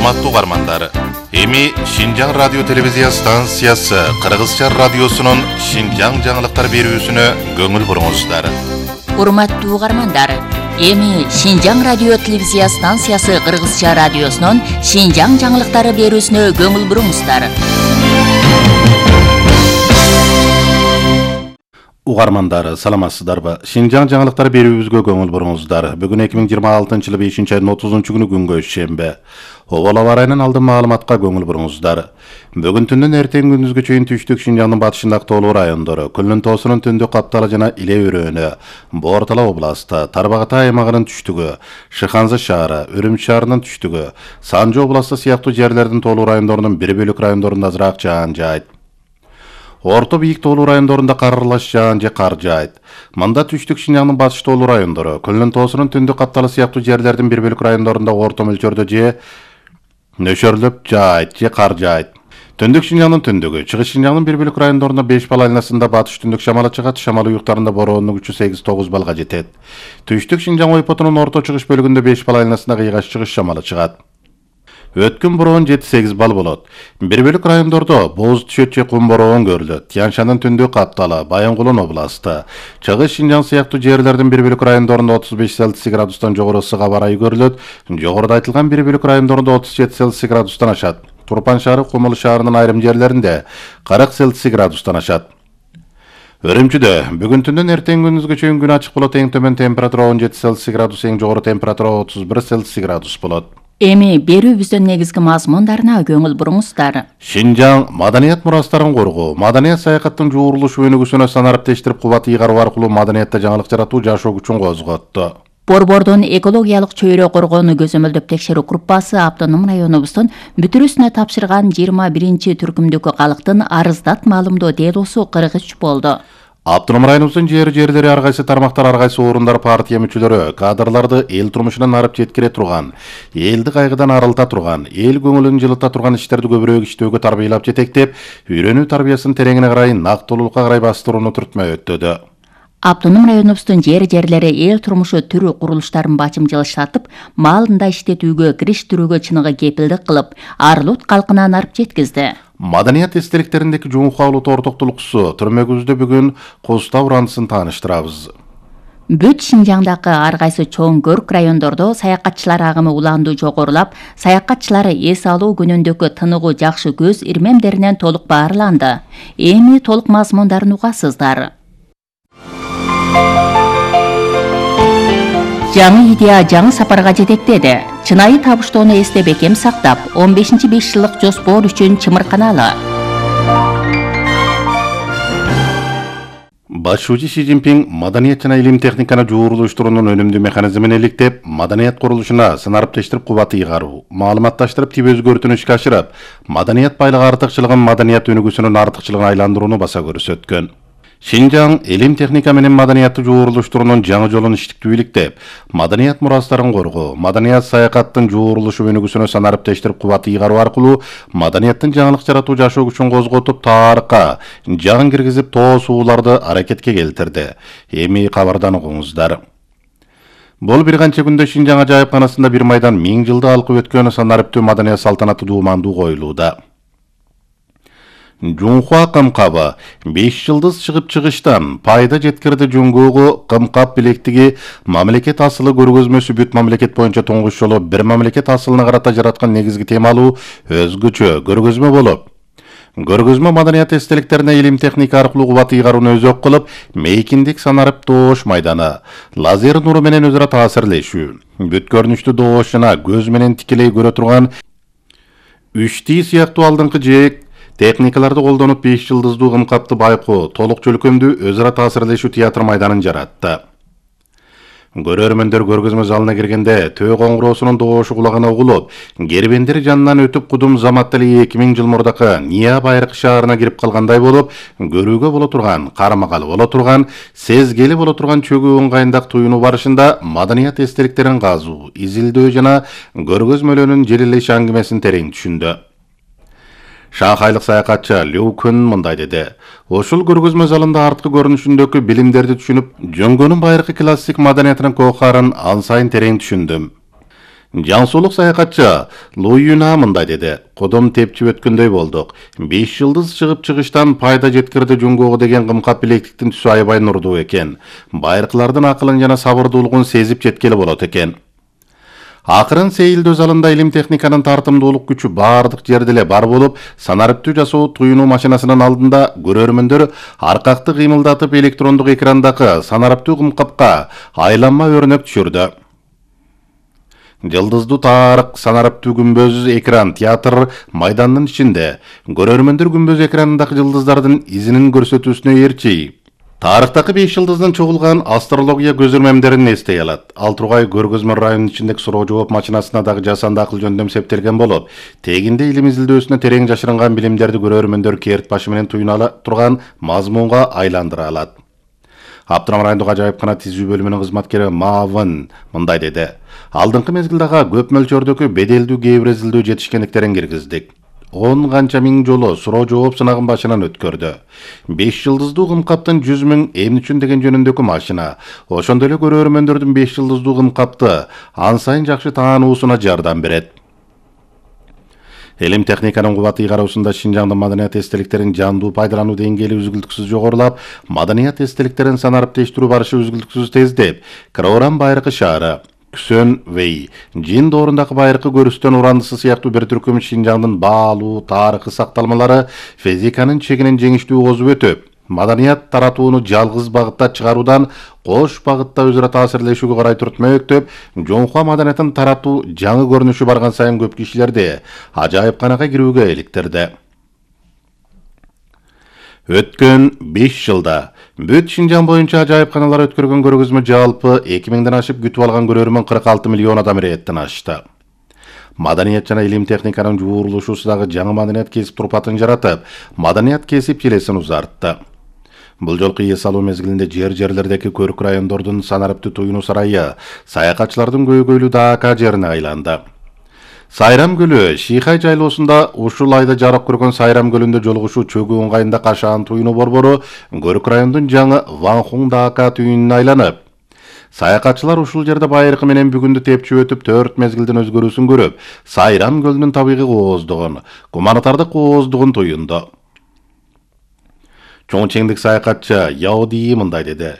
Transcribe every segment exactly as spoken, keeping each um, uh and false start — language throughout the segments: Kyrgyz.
Урматтуу угармандар, эми Шинжаң радио телевизия станциясы Кыргызча радиосунун Шинжаң жаңылыктар берүүсүнө көңүл буруңуздар. Урматтуу угармандар, эми Шинжаң радио телевизия станциясы Кыргызча радиосунун Шинжаң жаңылыктары берүүсүнө көңүл буруңуздар. Угармандар, саламатсыздарбы? Шинжаң жаңылыктар берүүбүзгө көңүл буруңуздар. Бүгүн эки миң жыйырма алтынчы жылы бешинчи айдын отузунчу күнү күнгө шембе. Обол аба ырайынан алдын маалыматка көңүл буруңуздар. Бүгүн түндөн эртең күндүзгө чейин түштүк Шинжаңдын батышындагы тоолуу райондору, Күлүн тоосунун түндүк капталы жана Иле өрөөнү, Боортала областы, Тарбагата аймагынын түштүгү, Шыханзы шаары, Үрүмчү шаарынын түштүгү, Санжы областы сыяктуу жерлердин тоолуу райондорунун бир бөлүк райондорунда азыраак жаан жаайт. Орто бийик тоолуу райондорунда кар аралаш жаан же кар жаайт. Мында түштүк Шинжаңдын батыш тоолуу райондору, Күлүн тоосунун түндүк капталы сыяктуу жерлердин бир бөлүк райондорунда орто мөлчөрдө же нөшөрлөп жаайт же кар жаайт. Түндүк Шинжаңдын түндүгү, Чыгыш Шинжаңдын бир бөлүк райондорунда беш балл айланасында батыш түндүк шамалы чыгат, шамал уюктарында бороонун күчү сегиз тогуз баллга жетет. Түштүк Шинжаң ойпотунун орто чыгыш бөлүгүндө беш балл айланасында кыйгаш чыгыш шамалы чыгат. Өткүн бороон жети сегиз балл болот. Бир бөлүк райондордо боз түшөт же кум бороон көрүлөт. Тянь-Шанын түндүк капталы, Баянгулун областы, Чыгыш Шинжаң сыяктуу жерлердин бир бөлүк райондорунда отуз беш Цельсий градустан жогору ысык аба ырайы көрүлөт. Жогоруда айтылган бир бөлүк райондорунда отуз жети Цельсий градустан ашат. Турпан шаары, Кумул шаарынын айрым жерлеринде кырк Цельсий градустан ашат. Үрүмчүдө бүгүн түндөн эртең күндүзгө чейин күн ачык болот. Эң төмөн температура он жети Цельсий градус, эң жогору температура отуз бир Цельсий градус болот. Эми берүүбүздүн негизги мазмундарына көңүл буруңуздар. Шинжаң маданият мурастарын коргоо, маданият саякаттын жуурулушу өнүгүүсүнө санариптештирип кубат ыйгаруу аркылуу маданиятта жаңылык жаратуу жашоо күчүн козготту. Борбордун экологиялык чөйрө коргоону көзөмөлдөп текшерүү группасы автоном районубуздун бүтүрүүсүнө тапшырган жыйырма биринчи түркүмдөгү калктын арыздат маалымдоо делосу кыргыз болду. Автоном районубуздун жери жерлери ар кайсы тармактар, ар кайсы орундар, партия мүчөлөрү кадрларды эл турмушунан арып жеткире турган, элди кайгыдан арылта турган, эл көңүлүн жылыта турган иштерди көбүрөөк иштөөгө тарбиялап жетектеп, үйрөнүү тарбиясынын тереңине карай, нактылуулукка карай бастырууну түртмөй өттөдү. Автоном районубуздун жер жерлери эл турмушу түрүү курулуштарын бачымчылыштатып, маалында иштетүүгө, кириштирүүгө чыныгы кепилдик кылып, арылут калкынан арып жеткизди. Маданият эстеликтериндеки жуңуху алуу тортоктулуксу түрмөгүбүздө бүгүн Куста уранысын тааныштырабыз. Бүт Шинжаңдагы ар кайсы чоң көрк райондордо саякатчылар агымы улаандуу жогорулап, саякатчылар эс алуу күнүндөгү тыныгуу жакшы көз ирмемдеринен толук баарланды. Эми толук мазмундарын угасыздар. Жаңы идея жаңы сапарга жетектеди. Чынайы табыштоону эсте бекем сактап, он бешинчи беш жылдык жоспор үчүн чымырканалы. Башчы Си Цзиньпин маданият жана илим техниканы жуурулуштуруунун өнүмдүү механизмин иликтеп, маданият курулушуна санариптештирип кубат ыйгаруу, маалыматташтырып тип өзгөртүүнү ишке ашырып, маданият байлыгы артыкчылыгын маданият өнүгүүсүнүн артыкчылыгына айландырууну баса көрсөткөн. Шинжаң илим техника менен маданиятты жуурулуштуруунун жаңы жолун иштиктүү иликтеп, маданият мурастарын коргоо, маданият саякаттын жуурулушу өнүгүүсүнө санариптештирип кубат ыйгаруу аркылуу маданияттын жаңылык жаратуу жашоо күчүн козготуп, тарыхка жан киргизип, тоо сууларды аракетке келтирди. Эми кабардан угуңуздар. Бул бир канча күндө Шинжаң ажайыпканасында бир майдан миң жылды алкып өткөн санариптүү маданият салтанаты дуумандуу коюлууда. Жуңхуа кымкабы беш жылдыз чыгып чыгыштан пайда жеткирди. Жуңгугу кымкап билектиги мамлекет асылы көргөзмөсү бүт мамлекет боюнча тоңгуч жолу бир мамлекет асылына карата жараткан негизги темалуу өзгөчө көргөзмө болуп, көргөзмө маданият эстеликтерине илим техника аркылуу кубат ыйгарууну өзөк кылып, мейкиндик санарып доош майданы, лазер нуру менен өзара таасирлешүү, бүт көрүнүштү доош жана көз менен тикелей көрө турган үч Д сыяктуу алдыңкы жээк техникаларды колдонуп беш жылдыздуу кымкапты байкоо, толук чөлкөмдүү өзара таасирлешүү театр майданын жаратты. Көрөрмөндөр көргөзмө залына киргенде төө коңгуроосунун доошу кулагына угулуп, кербендер жанынан өтүп кудум заматтали эки миң жыл мурдакы Ния байракы шаарына кирип калгандай болуп, көрүүгө боло турган, кармагалы боло турган, сезгели боло турган чөгүү ыңгайындак туюнуу барышында маданият эстеликтерин казуу, изилдөө жана көргөзмөлөрүнүн желелеш аңгимесин терең түшүндү. Шанхайлык саякатчы Лю Күн мындай деди. Ошол көргөзмө залында арткы көрүнүшүндөгү билимдерди түшүнүп, жөнгөнүн байыркы классик маданиятынын кохарын ан сайын терең түшүндүм. Жансулук саякатчы Луюна мындай деди. Кодом тепчип өткөндөй болдук. беш жылдыз чыгып чыгыштан пайда жеткирди жунгого деген кымкап билектиктин түсү аябай нурдуу экен. Байыркылардын акылын жана сабырдуулугун сезип жеткели болот экен. Акырын сейилдөө залында илим техниканын тартымдуулук күчү бардык жерде эле бар болуп, санариптүү жасоо туюнуу машинасынын алдында көрөрмөндөр аркакты кыймылдатып электрондук экрандагы санариптүү кымкапка айланма өрнөк түшүрдү. Жылдыздуу тарык, санариптүү күмбөз экран театр майданынын ичинде көрөрмөндөр күмбөз экранындагы жылдыздардын изинин көрсөтүүсүнө ээрчи. Тарыктагы беш жылдыздын чогулган астрология көзөрмөмдерин эстей алат. Ал тургай көргөзмө районунун ичиндеги суроо жооп машинасына дагы жасанды акыл жөндөм септелген болуп, тегинде илим изилдөөсүнө терең жашырынган билимдерди көрөрмөндөр керт башы менен туюна ала турган мазмунга айландыра алат. Аптырам райондук ажайыпкана тизүү бөлүмүнүн кызматкери Мавын мындай деди. Алдыңкы мезгилдага көп мөлчөрдөгү беделдүү кээ бир изилдөө жетишкендиктерин киргиздик. он канча миң жолу суроо жооп сынагын башынан өткөрдү. беш жылдыздуу кымкаптын жүз миң эмне үчүн деген жөнүндөгү машина. Ошондой эле көрөрмөндөрдүн беш жылдыздуу кымкапты ан сайын жакшы таануусуна жардам берет. Илим техниканын кубаты ыйгаруусунда Шинжаңдын маданият эстеликтерин жандуу пайдалануу деңгээли үзгүлтүксүз жогорулап, маданият эстеликтерин санариптештирүү барышы үзгүлтүксүз тездеп, Кырауран байыркы шаары, Күсөн Вей, Жин доорундагы байыркы көрүстөн урандысы сыяктуу бир түркүм Шинжаңдын баалуу тарыхый сакталмалары физиканын чегинен жеңиштүү козуп өтүп, маданият таратууну жалгыз багытта чыгаруудан кош багытта өзара таасирлешүүгө карай түртмөктөп, жоңкуа маданиятын таратуу жаңы көрүнүшү барган сайын көп кишилерди ажайыпканага кирүүгө иликтирди. Өткөн беш жылда бүт Шинжаң боюнча ажайыпканалар өткөргөн көргөзмө жалпы эки миңден ашып күтүп алган көрөрмөн кырк алты миллион адам иреттен ашты. Маданият жана илим техниканын жуурулушуусу дагы жаңы маданият кесип турпатын жаратып, маданият кесип желесин узартты. Бул жолку эс алуу мезгилинде жер-жерлердеги көрк райондордун санариптүү туюнуу сарайы саякатчылардын көйгөйлүү дака жерине айланды. Сайрам көлү Шийхай жайлоосунда ушул айда жарык көргөн Сайрам көлүндө жолугушуу чөгүү ыңгайында кашаан туюнуу борбору көрк райондун жаңы Ванхун дака түйүнүнө айланып, саякатчылар ушул жерде байыркы менен бүгүндү тепчип өтүп төрт мезгилдин өзгөрүүсүн көрүп, Сайрам көлүнүн табигый кооздугун, гуманитардык кооздугун туюнду. Чоң чеңдик саякатчы Яуди мындай деди.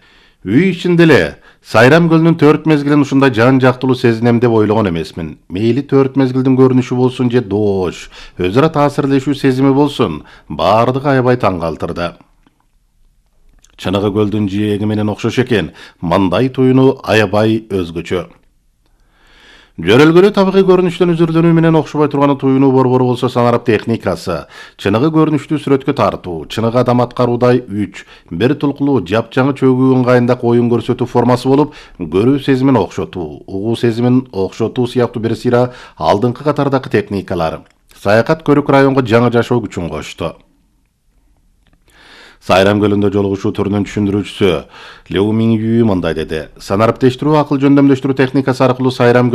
Үй ичинде эле Сайрам көлүнүн төрт мезгилин ушундай жан жактылуу сезинем деп ойлогон эмесмин. Мейли төрт мезгилдин көрүнүшү болсун же доош, өзара таасирлешүү сезими болсун, бардыгы аябай таң калтырды. Чыныгы көлдүн жээги менен окшош экен, мындай туюнуу аябай өзгөчө. Жөрөлгөлүү табигый көрүнүштөн үзүрдөнүү менен окшобой турган туюнуу борбору болсо санарып техникасы, чыныгы көрүнүштүү сүрөткө тартуу, чыныгы адам аткаруудай үч, бир тулкулуу жапжаңы чөгүү ыңгайында оюн көрсөтүү формасы болуп, көрүү сезимин окшотуу, угуу сезимин окшотуу сыяктуу бир сыйра алдыңкы катардагы техникалар. Саякат көрүк районго жаңы жашоо күчүн кошту. Сайрам көлүндө жолугушуу түрүнүн түшүндүрүүчүсү Леу Мингүү мындай деди. Санариптештирүү акыл жөндөмдөштүрүү техникасы аркылуу Сайрам